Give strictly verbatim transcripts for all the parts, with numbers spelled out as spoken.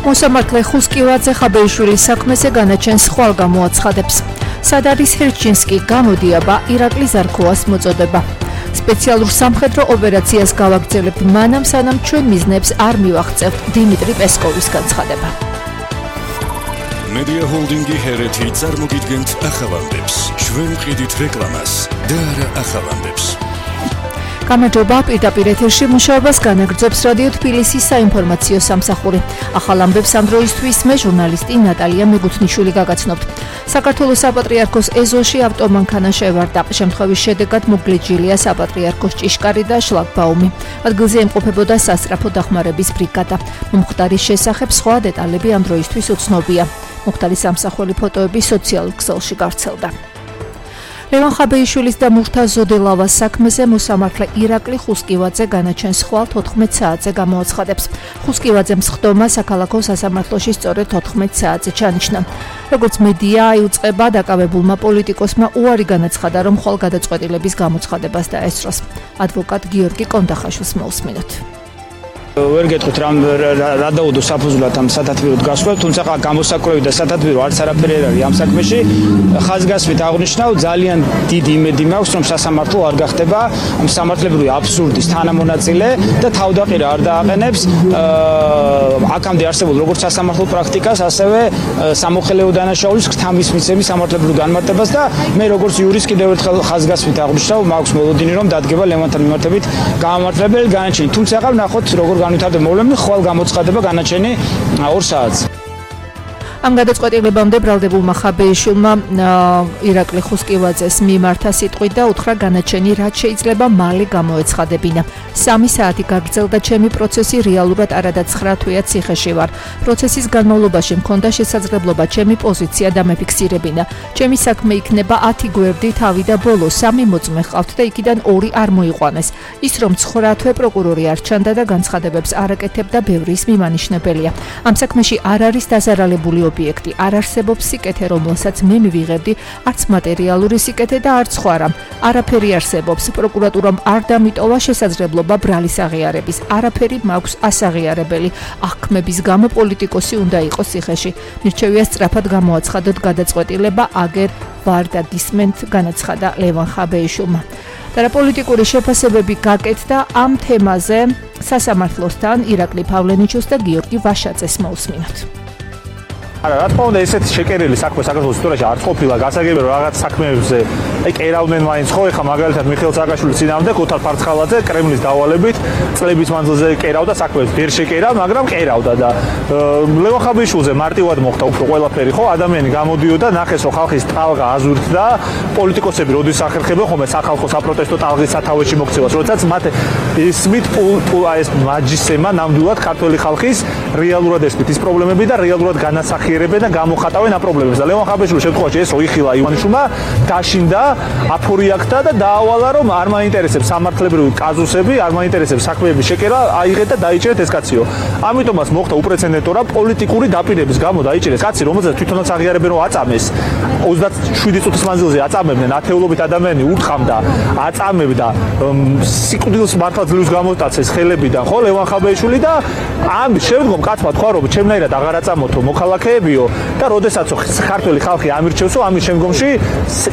მოსამართლე ხუსკივაძე ხაბეიშვილის საქმეზე განაჩენს ხვალ გამოაცხადებს. სად არის ჰერჩინსკი, გამოდი აბა ირაკლი ზარქოას მოწოდება. სპეციალურ სამხედრო ოპერაციას გავაგრძელებთ მანამ სანამ ჩვენ მიზნებს არ მივაღწევთ. დიმიტრი პესკოვის განცხადება. Media Holdingi ჰერეთი წარმოგიდგენთ ახალამდებს. ჩვენ ვყიდით რეკლამას და არა ახალამდებს. გამარჯობა, პირდაპირ ეთერში მუშაობას განაგრძობს რადიო თბილისის საინფორმაციო სამსახური. ახალ ამბებს ამ დროისთვის მე ჟურნალისტი ნატალია მეგუთნიშვილი გაგაცნობთ. საქართველოს საპატრიარქოს ეზოში ავტომანქანა შევარდა. შემთხვევის შედეგად მოგლეჯილია საპატრიარქოს ჭიშკარი და შლაგბაუმი. ადგილზე იმყოფებოდა სასწრაფო დახმარების ბრიგადა. მომხდარის შესახებ სხვა დეტალები ამ დროისთვის უცნობია. მომხდარის სამსახველი ფოტოები სოციალურ ქსელში გავრცელდა. ლევან ხაბეიშვილის და მურთა ზოდელავას საქმეზე მოსამართლე ირაკლი ხუსკივაძე განაჩენს ხვალ თოთხმეტ საათზე გამოაცხადებს. ხუსკივაძემ სხდომა საქალაქო სასამართლოში სწორედ თოთხმეტ საათზე ჩანიშნა. როგორც მედია აიუწყება, დაკავებულმა პოლიტიკოსმა უარი განაცხადა, რომ ხვალ გადაწყვეტილების გამოცხადებას დაესწროს. ადვოკატ გიორგი კონდახაშვილს მოусმინოთ. ვერ გეტყვით რა რა დაუდო საფუძვლად ამ სათათბიროდ გასვლა, თუმცა გამოსაკვლევი და სათათბირო არც არაფერი არ არის ამ საქმეში. ხაზგასმით აღნიშნავ, ძალიან დიდი იმედი მაქვს, რომ სასამართლო არ გახდება ამ სამართლებრივი აბსურდის თანამონაწილე და თავდაყირა არ დააყენებს აქამდე არსებულ როგორც სასამართლო პრაქტიკას, ასევე სამოხელეო დანაშაულის ღრთამის მიცემის სამართლებრივ განმარტებას და მე როგორც იურისტ კიდევ ერთხელ ხაზგასმით აღნიშნავ, მაქვს მოლოდინი რომ დადგება ლევანთან მიმართებით გამართლებელი განაჩენი. თუმცა ახლა ნახოთ როგორ განვითარდება მოვლენები, ხვალ გამოცხადება განაჩენი ორ საათზე. ამ გადაწყვეტილებამდე ბრალდებულმა ხაბეიშვილმა ირაკლი ხუსკივაძეს მიმართა სიტყვით და უთხრა განაჩენი რაც შეიძლება მალე გამოეცხადებინა. სამი საათი გაგრძელდა ჩემი პროცესი, რეალურად არადაცხრა თვეა ციხეში ვარ. პროცესის განმავლობაში მქონდა შესაძლებლობა ჩემი პოზიცია დამეფიქსირებინა. ჩემი საქმე იქნება ათი გვერდი თავი და ბოლო სამი მოწმე ჰყავთ და იქიდან ორი არ მოიყვანეს. ის რომ ცხრა თვე პროკურორი არ ჩანდა და განცხადებებს არ აკეთებდა, ბევრი ის მიმანიშნებელია. ამ საქმეში არ არის დაზარალებული ობიექტი, არ არსებობს სიკეთე, რომელსაც მე მივიღებდი, არც მატერიალური სიკეთე და არც სხვა რამ. არაფერი არსებობს. პროკურატურამ არ დამიტოვა შესაძლებლობა ბრალის აღიარების. არაფერი მაქვს ასაღიარებელი. აღქმების გამო პოლიტიკოსი უნდა იყოს ციხეში. მირჩევია სწრაფად გამოაცხადოთ გადაწყვეტილება, აგერ ვარ და გისმენთ, განაცხადა ლევან ხაბეიშვილმა. და პოლიტიკური შეფასებები გაკეთდა ამ თემაზე სასამართლოსთან ირაკლი პავლენიჩოს და გიორგი ვაშაძეს მოусმინოთ. არა, რა თქმა უნდა, ესეთი შეკერილი საქმე საქართველოს ისტორიაში არ ყოფილა, გასაგებია რომ რაღაც საქმეებზე აი კერავდნენ მაინც ხო, ეხა მაგალითად მიხეილ სააკაშვილის წინააღმდეგ ოთარ ფარცხალაძე კრემლის დავალებით წლების მანძილზე კერავდა საქმეებს, ვერ შეკერა, მაგრამ კერავდა და ლევან ხაბეიშვილზე მარტივად მოხდა უფრო ყველაფერი, ხო, ადამიანი გამოდიოდა, ნახეს რომ ხალხის ტალღა აზურთდა, პოლიტიკოსები როდის ახერხებენ ხოლმე სახალხო საპროტესტო ტალღის სათავეში მოქცევას, როდესაც მათ ისმით პულ აი ეს მაჯისემა ნამდვილად ქართველი ხალხის რეალურად ესმით ის პრობლემები და რეალურად განასახიერებენ და გამოხატავენ ამ პრობლემებს და ლევან ხაბეიშვილის შემთხვევაში ეს ოიხილა ივანიშვილმა დაშინდა, აფორიაქდა და დაავალა რომ არ მაინტერესებს სამართლებრივი კაზუსები, არ მაინტერესებს საქმეების შეკერა, აიღეთ და დაიჭერეთ ეს კაციო. ამიტომაც მოხდა უპრეცედენტო რა პოლიტიკური დაპირების გამო დაიჭერეს კაცი, რომელსაც თვითონაც აღიარებენ რომ აწამეს. ოცდაშვიდი წუთის მანძილზე აწამებდნენ, ათეულობით ადამიანი ურტყამდა, აწამებდა, სიკვდილს მართლა ძლივს გამოტაცეს ხელებიდან, ხო, ლევან ხაბეიშვილი და ამ შემდგომ კაცმა თქვა რომ ჩემნაირად აღარ აწამოთო მოქალაქე და როდესაც ქართველი ხალხი ამირჩევსო, ამის შემდგომში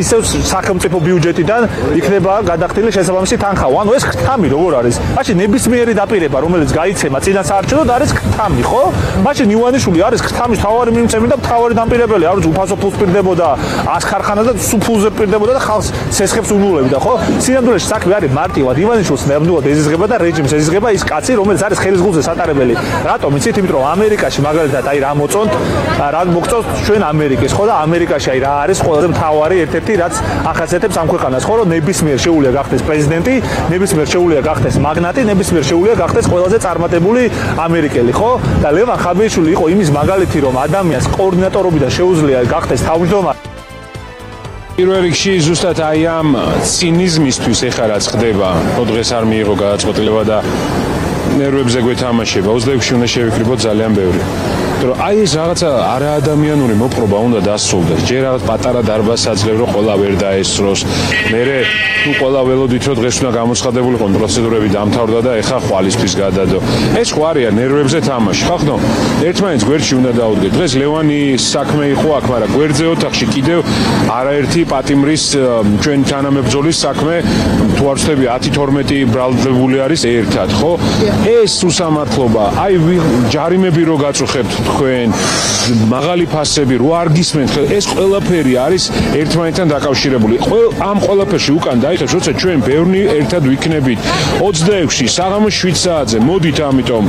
ისევ სახელმწიფო ბიუჯეტიდან იქნება გადახდილი შესაბამისი თანხა. ანუ ეს ქრთამი როგორ არის? მაშინ ნებისმიერი დაპირება, რომელიც გაიცემა წინა საარჩევნოდ არის ქრთამი, ხო? მაშინ ივანიშვილი არის ქრთამის მთავარი მიმწევრი და მთავარი დამპირებელი, არის უფასო ფულს პირდებოდა, ას ქარხანა და სუფულზე პირდებოდა და ხალხს სესხებს უნულებდა, ხო? სინამდვილეში საქმე არის მარტივად ივანიშვილს ნამდვილად ეზიზღება და რეჟიმს ეზიზღება ის კაცი, რომელიც არის ხელისგულზე სატარებელი. რატომ? იცით, იმიტომ რომ ამერიკაში მაგალითად აი რა მოწონთ რა მოგწონს ჩვენ ამერიკის, ხო და ამერიკაში აი რა არის ყველაზე მთავარი ერთ-ერთი რაც ახასიათებს ამ ქვეყანას, ხო რომ ნებისმიერ შეუძლია გახდეს პრეზიდენტი, ნებისმიერ შეუძლია გახდეს მაგნატი, ნებისმიერ შეუძლია გახდეს ყველაზე წარმატებული ამერიკელი, ხო? და ლევან ხაბეიშვილი იყო იმის მაგალითი, რომ ადამიანს კოორდინატორობიდან შეუძლია გახდეს თავმჯდომარე. პირველ რიგში ზუსტად აი ამ ცინიზმისთვის ეხლა რაც ხდება, რომ დღეს არ მიიღო გადაწყვეტილება და ნერვებზე გვეთამაშება, ოცდაექვსში უნდა შევიკრიბოთ ძალიან ბევრი. რომ აი ეს რაღაცა არაადამიანური მოპყრობა უნდა დასრულდეს. ჯერ რაღაც პატარა დარბაზს აძლევ რომ ყველა ვერ დაესწროს. მერე თუ ყველა ველოდით რომ დღეს უნდა გამოცხადებულიყო პროცედურები დამთავრდა და ეხა ხვალისთვის გადადო. ეს ხო არია ნერვებზე თამაში. ხახნო ერთმანეთს გვერდში უნდა დაუდგეთ. დღეს ლევანის საქმე იყო აქ, მაგრამ გვერდზე ოთახში კიდევ არაერთი პატიმრის ჩვენ თანამებრძოლის საქმე თუ არ ვცდები ათი თორმეტი ბრალდებული არის ერთად, ხო? ეს უსამართლობა, აი ჯარიმები რო გაწუხებთ თქვენ, მაღალი ფასები რო არ გისმენთ, ეს ყველაფერი არის ერთმანეთთან დაკავშირებული. ამ ყველაფერში უკან დაიხევს, როცა ჩვენ ბევრი ერთად ვიქნებით. ოცდაექვსი საღამოს შვიდ საათზე მოდით, ამიტომ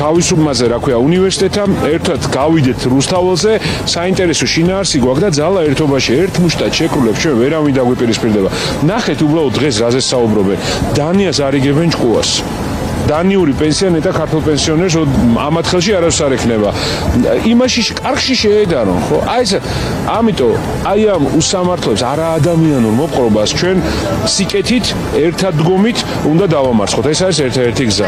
თავისუფლმაზე, რა ქვია, უნივერსიტეტთან ერთად გავიდეთ რუსთაველზე, საინტერესო შინაარსი გვაქვს და ძალა ერთობაში ერთ მუშტად შეკრულებს ჩვენ ვერავინ დაგვიპირისპირდება. ნახეთ უბრალოდ დღეს რაზე საუბრობენ. დანიას არიგებენ ჭკუას. დანიური პენსიონერი და ქართულ პენსიონერს ამათ ხელში არავის არ ექნება. იმაში კარგში შეედარონ, ხო? აი ეს ამიტომ აი ამ უსამართლებს არაადამიანურ მოპყრობას ჩვენ სიკეთით, ერთადდგომით უნდა დავამარცხოთ. ეს არის ერთ-ერთი გზა.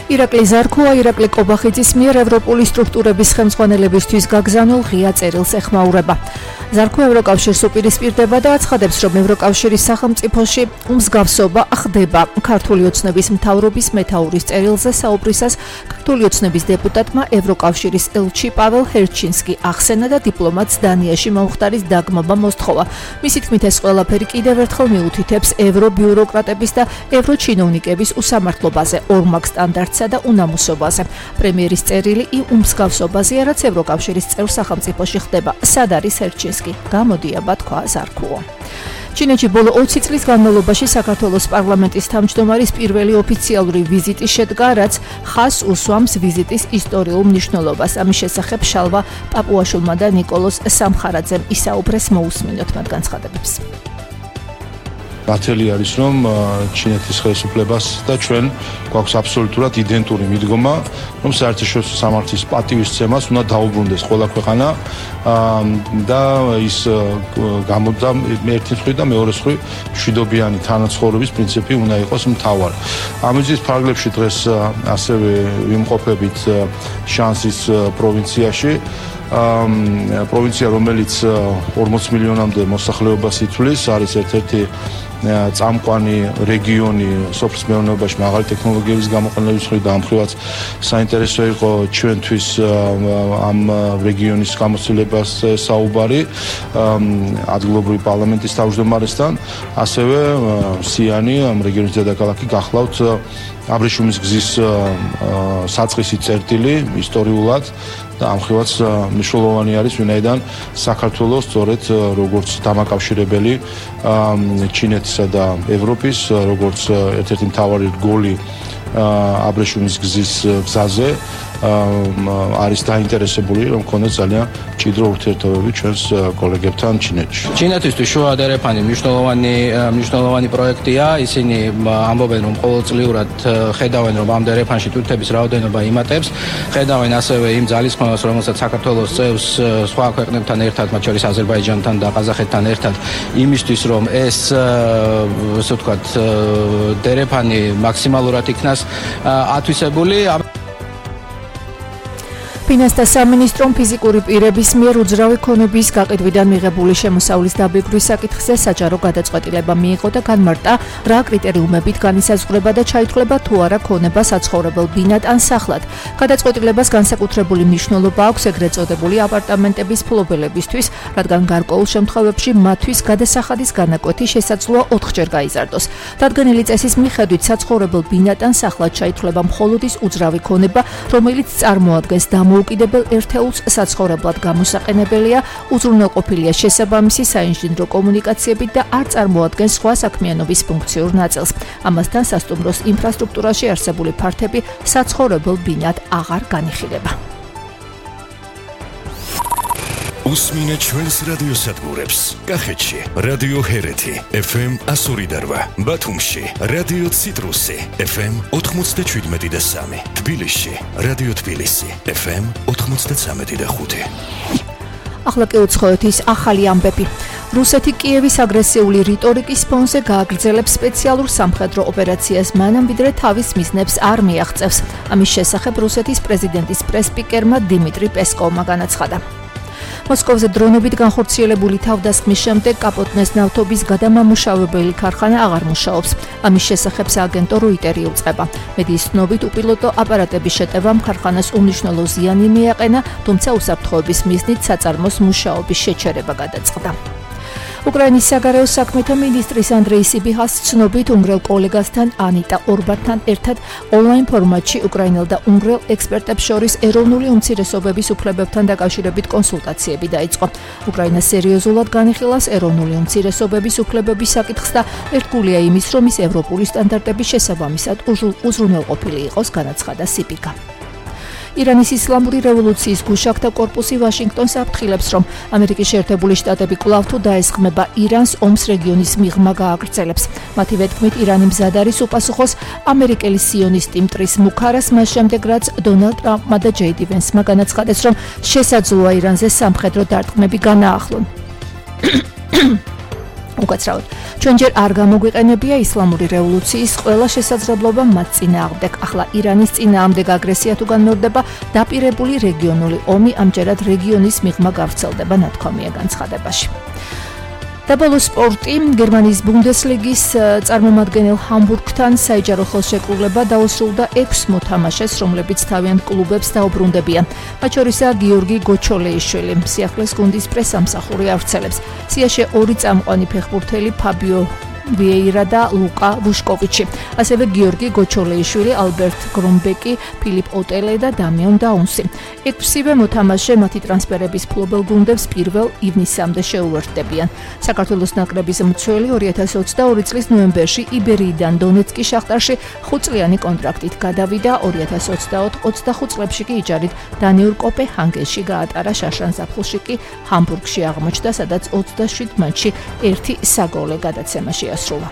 ირაკლი ზარქოა ირაკლი კობახიძის მიერ ევროპული სტრუქტურების ხელმძღვანელებისთვის გაგზავნილ ღია წერილს ეხმაურება. ზარქო ევროკავშირს უპირისპირდება და აცხადებს, რომ ევროკავშირის სახელმწიფოში უმსგავსობა ხდება. ქართული ოცნების მთავრობის მეთაურის წერილზე საუბრისას ქართული ოცნების დეპუტატმა ევროკავშირის ელჩი პაվել ჰერჩინსკი ახსენა და დიპლომატს დანიაში მომხდარის დაგმობა მოსთხოვა. მისი თქმით, ეს ყველაფერი კიდევ ერთხელ მიუთითებს ევრობიუროკრატების და ევროჩინოვნიკების usამართლობაზე, ორმაგ სტანდარტსა და უნამუსობაზე. პრემიერის წერილი უმსგავსობაზეა, რაც ევროკავშირის წევრ სახელმწიფოში ხდება. სად არის ჰერჩინსკი? გამოდი აბა თქვა ზარქუო. ჩინეთში ბოლო ოცი წლის განმავლობაში საქართველოს პარლამენტის თავმჯდომარის პირველი ოფიციალური ვიზიტი შედგა, რაც ხაზს უსვამს ვიზიტის ისტორიულ მნიშვნელობას. ამის შესახებ შალვა პაპუაშვილმა და ნიკოლოზ სამხარაძემ ისაუბრეს, მოусმინოთ მათ განცხადებებს. ნათელი არის, რომ ჩინეთის ხელისუფლებას და ჩვენ გვაქვს აბსოლუტურად იდენტური მიდგომა, რომ საერთაშორისო სამართლის პატივისცემას უნდა დაუბრუნდეს ყველა ქვეყანა და ის გამოდგა ერთი მხრივ და მეორე მხრივ მშვიდობიანი თანაცხოვრების პრინციპი უნდა იყოს მთავარი. ამის ფარგლებში დღეს ასევე ვიმყოფებით შანსის პროვინციაში. პროვინცია, რომელიც ორმოც მილიონამდე მოსახლეობას ითვლის, არის ერთ-ერთი წამყვანი რეგიონი სოფლის მეურნეობაში მაღალი ტექნოლოგიების გამოყენების მხრივ და ამ მხრივაც საინტერესო იყო ჩვენთვის ამ რეგიონის გამოცდილებას საუბარი ადგილობრივი პარლამენტის თავმჯდომარესთან, ასევე სიანი ამ რეგიონის დედაქალაქი გახლავთ აბრეშუმის გზის საწყისი წერტილი ისტორიულად და ამ მხრივაც მნიშვნელოვანი არის, ვინაიდან საქართველოს სწორედ როგორც დამაკავშირებელი ჩინეთისა და ევროპის, როგორც ერთ-ერთი მთავარი რგოლი აბრეშუმის გზის გზაზე არის დაინტერესებული, რომ ქონდეს ძალიან მჭიდრო ურთიერთობები ჩვენს კოლეგებთან ჩინეთში. ჩინეთისთვის შუა დერეფანი მნიშვნელოვანი მნიშვნელოვანი პროექტია. ისინი ამბობენ, რომ ყოველწლიურად ხედავენ, რომ ამ დერეფანში თურქების რაოდენობა იმატებს. ხედავენ ასევე იმ ძალისხმევას, რომელსაც საქართველოს წევს სხვა ქვეყნებთან ერთად, მათ შორის აზერბაიჯანთან და ყაზახეთთან ერთად, იმისთვის, რომ ეს ასე ვთქვათ დერეფანი მაქსიმალურად იქნას ათვისებული. ფინანსთა სამინისტრომ ფიზიკური პირების მიერ უძრავი ქონების გაყიდვიდან მიღებული შემოსავლის დაბეგვრის საკითხზე საჯარო გადაწყვეტილება მიიღო და განმარტა, რა კრიტერიუმებით განისაზღვრება და ჩაითვლება თუ არა ქონება საცხოვრებელ ბინად ან სახლად. გადაწყვეტილებას განსაკუთრებული მნიშვნელობა აქვს ეგრეთ წოდებული აპარტამენტების ფლობელებისთვის, რადგან გარკვეულ შემთხვევებში მათთვის გადასახადის განაკვეთი შესაძლოა ოთხჯერ გაიზარდოს. დადგენილი წესის მიხედვით საცხოვრებელ ბინად ან სახლად ჩაითვლება მხოლოდ ის უძრავი ქონება, რომელიც წარმოადგენს დამოუკიდებელ უკიდებელ ერთეულს საცხოვრებლად გამოსაყენებელია, უზრუნველყოფილია შესაბამისი საინჟინრო კომუნიკაციებით და არ წარმოადგენს სხვა საქმიანობის ფუნქციურ ნაწილს. ამასთან სასტუმროს ინფრასტრუქტურაში არსებული ფართები საცხოვრებელ ბინად აღარ განიხილება. უსმინეთ ჩვენს რადიოსადგურებს. კახეთში რადიო ჰერეთი ეფ ემ εκατო ორი და რვა, ბათუმში რადიო ციტრუსი ეფ ემ ოთხმოცდაშვიდმეტი და სამი, თბილისში რადიო თბილისი ეფ ემ ოთხმოცდაცამეტი და ხუთი. ახლა კი უცხოეთის ახალი ამბები. რუსეთი კიევის აგრესიული რიტორიკის ფონზე გააგრძელებს სპეციალურ სამხედრო ოპერაციას მანამ ვიდრე თავის მიზნებს არ მიაღწევს. ამის შესახებ რუსეთის პრეზიდენტის პრესპიკერმა დიმიტრი პესკოვმა განაცხადა. მოსკოვზე დრონობით განხორციელებული თავდასხმის შემდეგ კაპოტნეს ნავთობის გადამამუშავებელი ქარხანა აღარ მუშაობს. ამის შესახებ სააგენტო როიტერი უწყება. მედიის ცნობით უპილოტო აპარატების შეტევამ ქარხანას უმნიშვნელო ზიანი მიაყენა, თუმცა უსაფრთხოების მიზნით საწარმოს მუშაობის შეჩერება გადაწყდა. უკრაინის საგარეო საქმეთა მინისტრის ანდრეი სიბიჰას ცნობით უნგრელ კოლეგასთან ანიტა ორბანთან ერთად ონლაინ ფორმატში უკრაინელ და უნგრელ ექსპერტებს შორის ეროვნული უმცირესობების უფლებებთან დაკავშირებით კონსულტაციები დაიწყო. უკრაინა სერიოზულად განიხილავს ეროვნული უმცირესობების უფლებების საკითხს და ერთგულია იმის, რომ ის ევროპული სტანდარტების შესაბამისად უზრუნველყოფილი იყოს, განაცხადა სიბიგა. ირანის ისლამური რევოლუციის გუშაქთა კორპუსი ვაშინგტონს აფრთხილებს, რომ ამერიკის შეერთებული შტატები კვლავ თუ დაესხმება ირანს, ომს რეგიონის მიღმა გააგრძელებს. მათი ვეთქმით, ირანი მზად არის უპასუხოს ამერიკელი სიონისტი მტრის მუქარას, მას შემდეგ რაც დონალდ ტრამპმა და ჯეი დი ვენსმა განაცხადეს, რომ შესაძლოა ირანზე სამხედრო დარტყმები განაახლონ. უკაცრავად, ჩვენ ჯერ არ გამოგვიყენებია ისლამური რევოლუციის ყველა შესაძლებლობა მათ წინააღმდეგ. ახლა ირანის წინააღმდეგ აგრესია თუ განმეორდება, დაპირებული რეგიონული ომი ამჯერად რეგიონის მიღმა გავრცელდება, ნათქვამია განცხადებაში. და ბოლოს სპორტი, გერმანიის ბუნდესლიგის წარმომადგენელ ჰამბურგთან საიჯარო ხელშეკრულება დაუსრულდა ექვს მოთამაშეს, რომლებიც თავიანთ კლუბებს დაუბრუნდებიან. მათ შორისაა გიორგი გოჩოლეიშვილი, სიახლეს გუნდის პრესამსახური ავრცელებს. სიაში ორი წამყვანი ფეხბურთელი ფაბიო ვიეირა და ლუკა ვუშკოვიჩი, ასევე გიორგი გოჩოლეიშვილი, ალბერტ გრომბეკი, ფილიპ ოტელე და დამიონ დაუნსი. ექვსივე მოთამაშე მათი ტრანსფერების ფლობელ გუნდებს პირველ ივნისამდე შეუერთდებიან. საქართველოს ნაკრების მცველი ორი ათას ოცდაორი წლის ნოემბერში იბერიიდან დონეცკის შახტარში ხუთწლიანი კონტრაქტით გადავიდა, ორი ათას ოცდაოთხ ოცდახუთ წლებში კი იჯარით დანიურ კოპენჰაგენში გაატარა, შაშან ზაფხულში კი ჰამბურგში აღმოჩნდა, სადაც ოცდაშვიდ მატჩში ერთი საგოლე გადაცემაში ასრულა.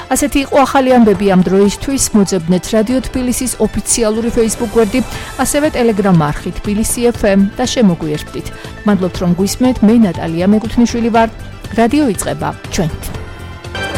ასეთი იყო ახალი ამბები ამ დროისთვის. მოძებნეთ რადიო თბილისის ოფიციალური Facebook გვერდი, ასევე Telegram არხი თბილისი ეფ ემ და შემოგვიერთდით. მადლობთ რომ გვისმენთ, მე ნატალია მეკუთვნიშვილი ვარ. რადიო იწყება ჩვენით.